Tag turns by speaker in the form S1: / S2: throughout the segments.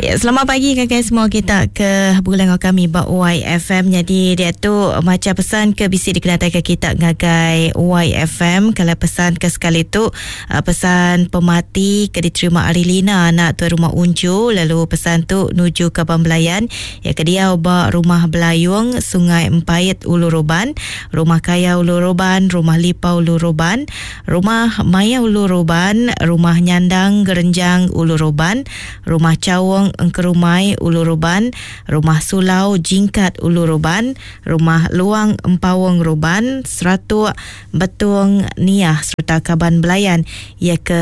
S1: Ya, selamat pagi ngagai semua kita ke begulai enggau kami ba YFM. Jadi dia tu maca pesan ke bisi dikenatai ke kita ngagai YFM. Kalau pesan ke sekali tu pesan pemati ke diterima ari Lina anak tuai rumah Unju lalu pesan tu nuju ke Bambelayan ya ke diau ba rumah Belayung Sungai Empait Ulu Roban, Rumah Kaya Ulu Roban, Rumah Lipa Ulu Roban, Rumah Maya Ulu Roban, Rumah Nyandang Gerenjang Ulu Roban, Rumah Chaung Engkerumai Ulu Ruban, Rumah Sulau Jingkat Ulu Ruban, Rumah Luang Empaung Ruban, Seratuk Betung Niah sereta kaban belayan iya ke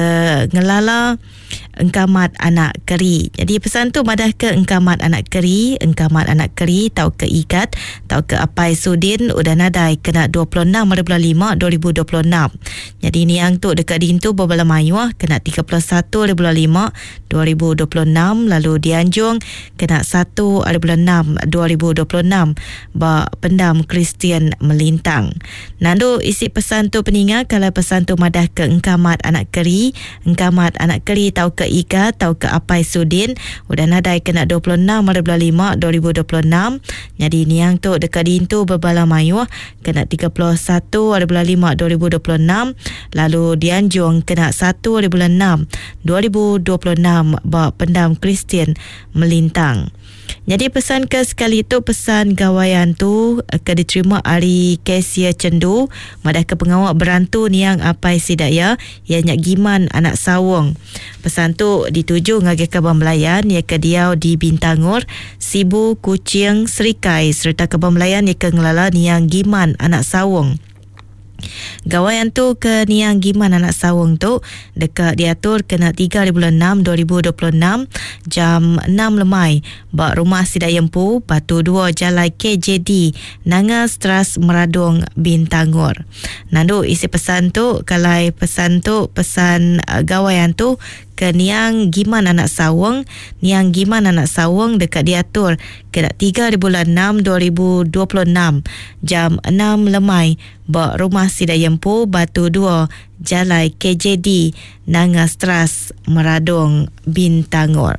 S1: ngelala Engkamat Anak Keri. Nyadi pesan tu madahka Engkamat Anak Keri, Engkamat Anak Keri tauka Igat tauka Apai Sudin udah nadai kena 26 hari bulan lima 2026. Nyadi niang tu deka diintu bebala mayuh kena 31 hari bulan lima 2026 lalu dianjung kena satu hari bulan enam 2026 ba Pendam Kristian Melintang. Nandu isi pesan tu peninga kala pesan tu madah ke Engkamat anak Keri, Engkamat anak Keri tauka Iga tauka Apai Sudin udah nadai kena 26 hari bulan lima 2026. Nyadi niang tu deka diintu bebala mayuh kena 31 hari bulan lima 2026 lalu dianjung kena satu hari bulan enam 2026 ba Pendam Kristian Melintang. Nyadi pesan ke sekali tu pesan Gawai Antu ke diterima ari Cassia Chendu madahka pengawa berantu niang apai sida iya iya nya Giman anak Sawong. Pesan tu dituju ngagai kaban belayan iya ke diau di Bintangor, Sibu, Kuching, Serikai sereta kaban belayan iya ke ngelala niang Giman anak Sawong. Gawai antu ke niang Giman anak Sawong tu deka diatur kena tiga hari bulan enam 2026 jam enam lemai ba Rumah Sida Iya Empu, Batu dua Jalai KJD, Nanga Stras Meradong, Bintangor. Nandu isi pesan tu kalai pesan tu pesan gawai antu ke niang Giman anak Sawong, niang Giman anak Sawong deka diatur kena tiga hari bulan enam 2026 jam enam lemai ba Rumah Sida Iya Empu, Batu dua, Jalai KJD, Nanga Stras, Meradong, Bintangor.